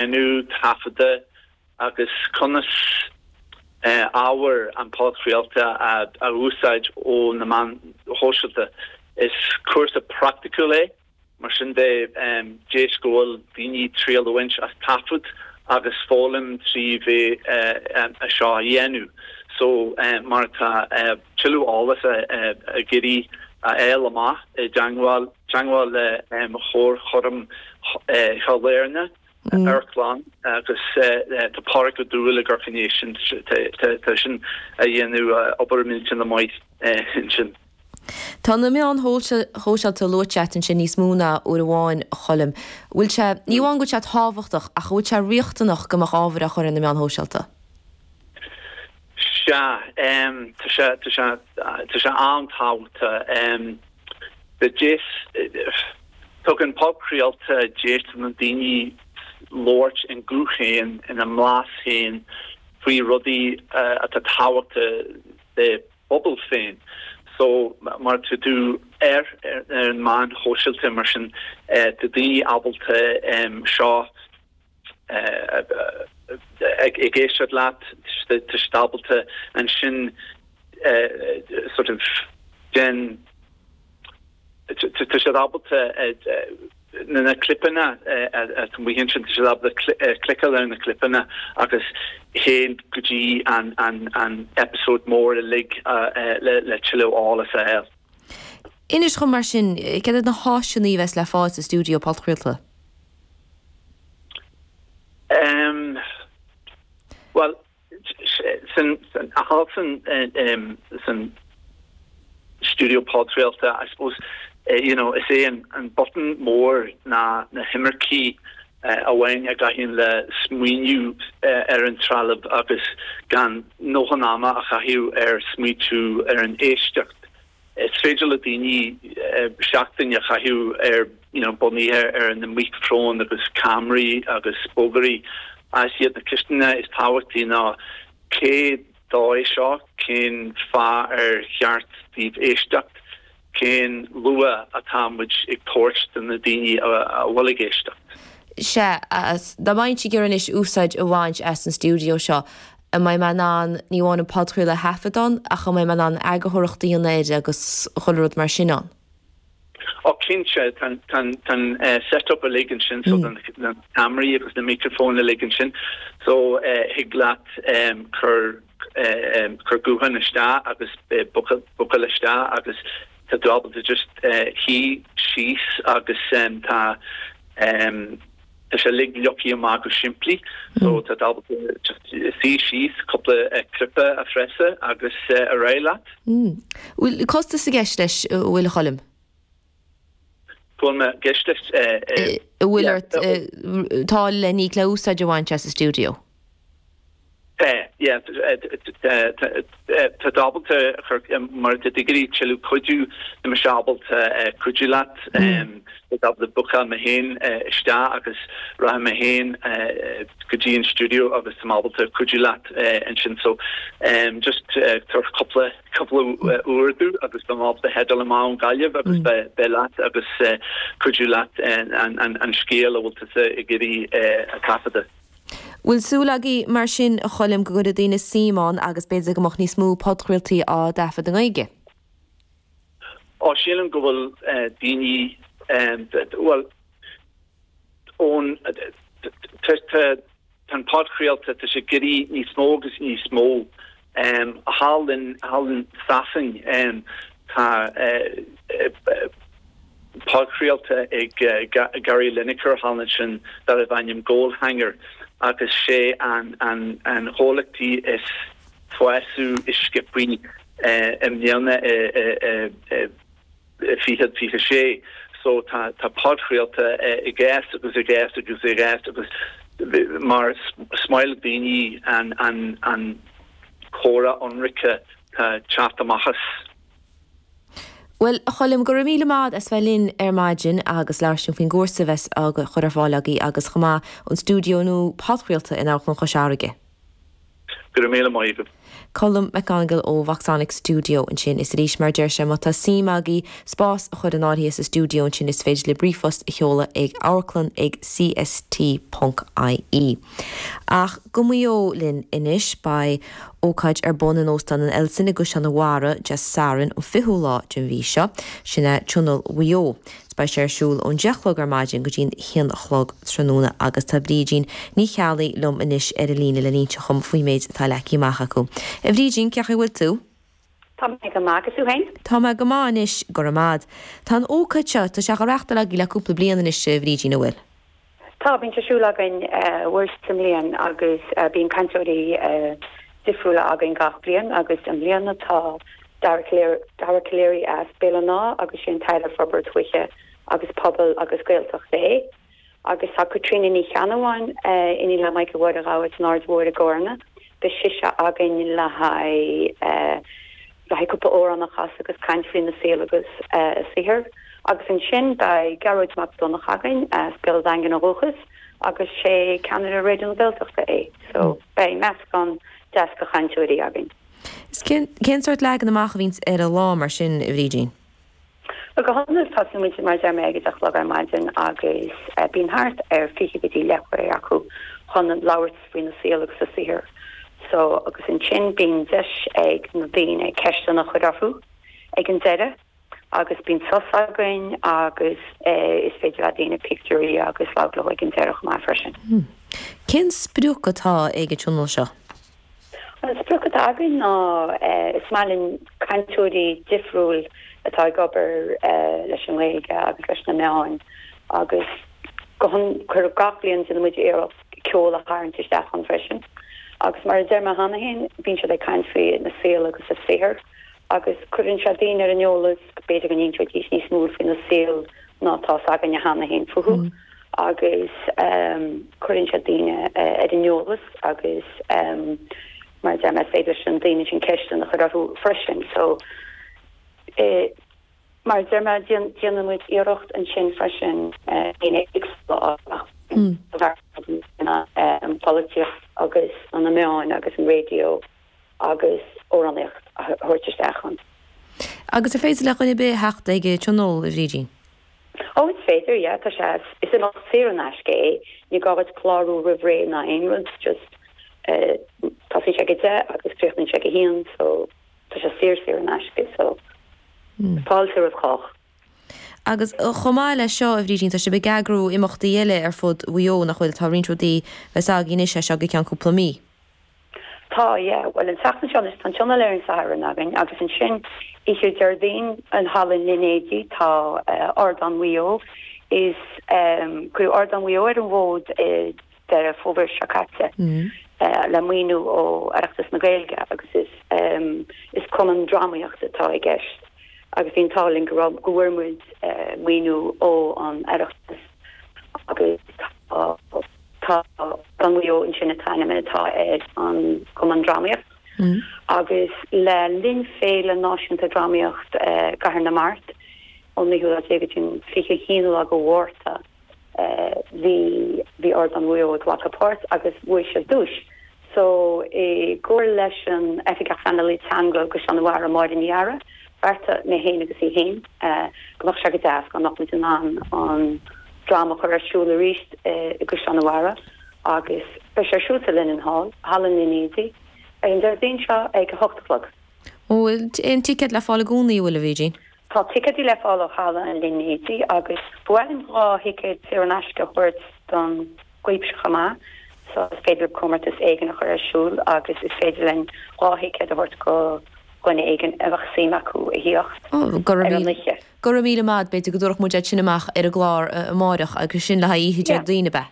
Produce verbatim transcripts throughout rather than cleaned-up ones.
Déanamh taifeadadh agus conas ábhar an podchraolta a úsáid ó na meáin shóisialta. Is cúrsa praiticiúil é, mar sin de deis go bhfuil daoine triail a bhaint as taifead agus foghlaim trí bheith é seo a dhéanamh. So mar tá tuilleadh eolas ag iarraidh a fháil amach i dteagmháil teagmháil le Comharchumann Chill Airne, Amharclann agus tá Pádraig Ó Dúill ag amharc ina dhiaidh sin, tá sin a dhéanamh obair millteanach maith ansin. Tá na meáin shóisialta luaite agat ansin níos mó ná uair amháin, a Choilm. Bhfuil sé, ní amháin go bhfuil sé tábhachtach, ach bhfuil sé riachtanach go mbeadh ábhar á chur ar na meáin shóisialta? Sea, tá sé, tá sé, tá sé an-tábhachtach. Deis, tugann podchraolta deis do na daoine labhairt ina nguth féin, ina mblas féin faoi rudaí atá tábhachtach dá bpobal féin. So mar tá tú ar ar an meán shóisialta mar sin tá daoine ábalta seo ag éisteacht leat, tá siad ábalta ansin sort of den tá siad ábalta na clipeanna atá amuigh ansin, tá siad ábalta cliceáil ar na clipeanna agus théann go dtí an an episode mór uilig le le tuilleadh eolas a fháil. Inis dhom mar sin, céard iad na háiseanna a bheas le fáil sa stiúideo podchraolta? Um, well, san thall san um, san stiúideo podchraolta, I suppose, uh, you know, is é an, an botún mór ná na himircí uh, amháin a gcaitheann le smaoineamh uh, ar an trealamh agus gan dóthain ama a chaitheamh ar smaoitiú ar an éisteacht. Is féidir le daoine seachtain a chaitheamh ar you know, bunaithe ar na micreafóin agus ceamaraí agus bogearraí as iad na ceisteanna is tábhachtaí ná cé dó é seo, cén fáth ar cheart daoibh éisteacht, cén luach atá muid ag tabhairt do na daoine a bhfuil ag éisteacht. Sea, dá mbeinnse ag iarraidh anois úsáid a bhaint as an stiúideo seo, an mbeidh mé in ann ní amháin an podchraoladh a thaifead ann ach an mbeidh mé in ann eagarthóireacht a dhéanamh air agus chuile rud mar sin ann? Ó cinnte tá an setup uilig ansin so na ceamaraí agus na micreafóin uilig ansin so thig leat cur cur guthán isteach agus bualadh isteach agus tá tú ábalta just suí síos agus tá tá sé uilig leagtha amach go simplí so tá tú ábalta just suí síos cúpla cnaipe a phreasadh agus ar aghaidh leat. Bhfuil costas i gceist leis bhfuil a Choilm? Bhfuil mé gceist leis Bhfuil ort tá le ní le úsáid a bhaint as an stiúideo? Tá tú ábalta mar tá tú ag iarraidh tuilleadh cuidiú tá mise ábalta cuidiú leat tá ábalta bookáil mé féin isteach agus rachaidh mé féin go dtí an stiúideo agus tá ábalta cuidiú leat ansin so just tabhair cúpla cúpla uair domh agus beidh mé ábalta headáil amach ón Gaillimh agus beidh leat agus cuidiú leat an scéal a bhfuil tusa ag iarraidh a thaifeadadh. Bhfuil súil agaibh mar sin a Choilm go gcuirfidh daoine suim ann agus b'fhéidir go mbeadh níos mó podchraoltaí á dtaifead i nGaeilge? Ó sílim go bhfuil daoine well ón tá an podchraolta tá sé ag éirí níos mó agus níos mó thall in thall in Sasain tá podchraolta ag Gary Lineker thall ansin darbh ainm Goalhanger agus sé an an an chomhlachtaí is fásadh is sciobthaí i mbliana fiche fiche sé so tá tá podchraolta ag fás agus ag fás agus ag fás agus mar smaoil daoine an an an comhrá ionraice tá teacht amach as. Bhuel, a Choilm, go raibh míle maith as bheith linn ar maidin agus labhairt linn faoin gcúrsa a bheas á chur ar fáil agaibh agus chomh maith an stiúideo nua podchraolta in Amharclann Chois Fharraige. Go raibh míle maith agat. Colm McGonigle ó Voxonic Studio ansin is arís mar deir sé má tá suim agaibh spás a chur in áirithe sa stiúideo ansin is féidir libh ríomhphost a sheoladh ag amharclann ag cst ponc ie. Ach go Maigh Eo linn anois beidh ócáid ar bun in Óstán an Elson i gCaisleán an Bharraigh Dé Sathairn an fichiú lá den mhí seo, sin é Tionól Mhaigh Eo. Beidh sé ar siúl ón deich a chlog ar maidin go dtí'n haon a chlog tráthnóna agus tá Brídín Ní Cheallaigh liom anois ar an líne le n-inse dhom faoin méid atá leagtha amach acu. A Bhrídín, cén chaoi a bhfuil tú? Tá mé go maith agus tú féin? Tá mé go maith anois, go raibh maith. Tá an ócáid seo, tá sé á reáchtáil agaibh le cúpla bliain anois, a Bhrídín, an bhfuil? Tá, bíonn sé ar siúl againn uair sa mbliain agus bíonn cainteoirí difriúla againn gach bliain agus i mbliana tá Dara Calleary as Béal an Átha agus sé an tAire Forbartha Tuaithe agus Pobail agus Gaeltachta é. Agus tá Caitríona Ní Cheannabháin, iníon le Michael Mháire Ghabha san Aird Mhóir i gCarna, beidh sise againn le haghaidh le haghaidh cúpla amhrán a chasadh agus caint faoina saol agus a saothar. Agus ansin beidh Gearóid Mac Donncha againn as Béal an Daingin ó dhúchas agus sé ceannaire Raidió na Gaeltachta é. So beidh meascán deas de chainteoirí againn. Is cén cén sórt leagan amach a bhíonns ar an lá mar sin, a Bhrídín? Bhuel go hiondúil tosaíonn muid mar a deir mé ag a deich a chlog ar maidin agus bíonn thart ar fiche go dtí leathuair acu chun labhairt faoina saol agus a saothar. So agus ansin bíonn deis ag na daoine ceisteanna a chur orthu ag an deireadh agus bíonn sos againn agus is féidir le daoine pictiúirí agus labhairt leo ag an deireadh chomh maith freisin. Cén sprioc atá ag an tionól seo? An sprioc atá againn ná is maith linn cainteoirí difriúil atá ag obair leis an nGaeilge agus leis na meáin agus go cuir gach bliain déanann muid iarracht ceol a tharraingt isteach ann freisin. Agus mar a deir mé cheana féin, bíonn siad ag caint faoi na saol agus a saothar agus cuireann sé daoine ar an eolas go b'fhéidir go n-inseoidís níos mó faoina saol ná atá againne cheana féin fúthu agus cuireann sé daoine ar an eolas agus mar a deir mé is féidir leis an daoine sin ceisteanna a chur orthu freisin. So mar a deir mé déanann muid iarracht ansin freisin daoine éagsúla a an pholaitíocht agus na meáin agus an raidió agus amhránaíocht a thabhairt isteach ann. Agus ar féidir le dhuine ar bith theacht ag an tionól, a Bhrídín? Ó is féidir, yeah, tá sé, is imeacht saor in aisce é, ní gá duit clárú roimh ré ná aon rud, just tosaíonn sé ag a deich agus críochnaíonn sé ag a haon so tá sé saor saor in aisce so fáilte roimh chách. Agus chomh maith leis seo, a Bhrídín, tá sibh ag eagrú imeachtaí eile ar fud Mhaigh Eo, nach bhfuil? Tá roinnt rudaí a bheas agaibh anois as seo go ceann cúpla mí. Tá, yeah. Bhuel, an tseachtain seo anois, tá an tionól ar an Satharn againn agus ansin oíche Déardaoin in Halla an Línéadaigh tá Ardán Mhaigh Eo. Is cuireadh Ardán Mhaigh Eo ar an bhfód i Deireadh Fómhair seo caite le maoiniú ó Oireachtas na Gaeilge agus is is cumann drámaíochta atá i gceist agus bhí an t-ádh linn go raibh go bhfuair muid maoiniú ó an Oireachtas agus tá tá Ardán Mhaigh Eo ansin an t-ainm atá ar an gcumann drámaíocht agus le linn Féile Náisiúnta Drámaíocht i gCathair na Mart ón naoú lá déag go dtí an fiche haon lá de Mhárta bhí bhí Ardán Mhaigh Eo ag glacadh páirt agus bhuaigh siad duais. So i gcomhar leis an Oifigeach Pleanála Teanga i gCaisleán an Bharraigh, Máire Ní Eadhra, bheartaigh mé féin agus í féin go mbeadh sé go deas dá mbeadh muid in ann an dráma a chur ar siúl arís i gCaisleán an Bharraigh agus beidh sé ar siúl sa Linen Hall, Halla an Línéadaigh, ar an Déardaoin seo ag a hocht a chlog. An bhfuil aon ticéad le fáil i gcónaí, an bhfuil, a Bhrídín? Tá ticéidí le fáil ó Halla an Línéadaigh agus ba mhaith linn dhá thicéad saor in aisce a thabhairt don gcuibse chomh maith so is féidir comórtas éigin a chur ar siúl agus is féidir linn dhá thicéad a thabhairt go dhuine éigin a bheadh suim acu a thíocht ar an oíche. Go raibh míle maith, b'fhéidir go dtabharfadh muid iad sin amach ar an gclár amáireach agus sin le haghaidh oíche Déardaoin, ab ea?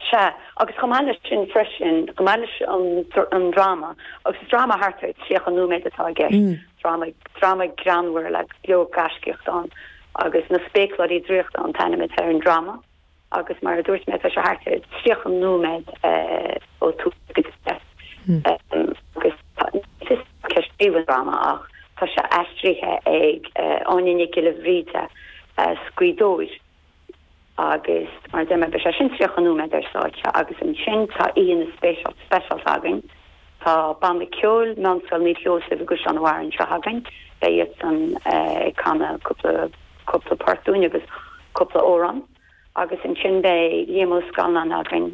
Sea, agus chomh maith leis sin freisin, chomh maith leis an dráma, agus is dráma thart ar tríocha nóiméad atá i gceist, dráma, dráma greannmhar le go leor gaiscíocht ann, agus Na Spéacláirí Draíochta an t-ainm atá ar an dráma, agus mar a dúirt mé, tá sé thart ar tríocha nóiméad ó thús go deireadh. Agus ní fios cé a scríobh an dráma ach tá sé aistrithe ag Áine Nic Giolla Bhríde as Gaoth Dobhair. Agus mar a deir mé, beidh sé sin tríocha nóiméad ar stáitse agus ansin tá oíche speisialta againn Tá banna ceoil Meánscoil Naomh Sheosaimh i gCaisleán an Bharraigh anseo againn, beidh iadsan ag canadh cúpla cúpla port dúinn agus cúpla amhrán. Agus ansin beidh Liam Ó Scanláin againn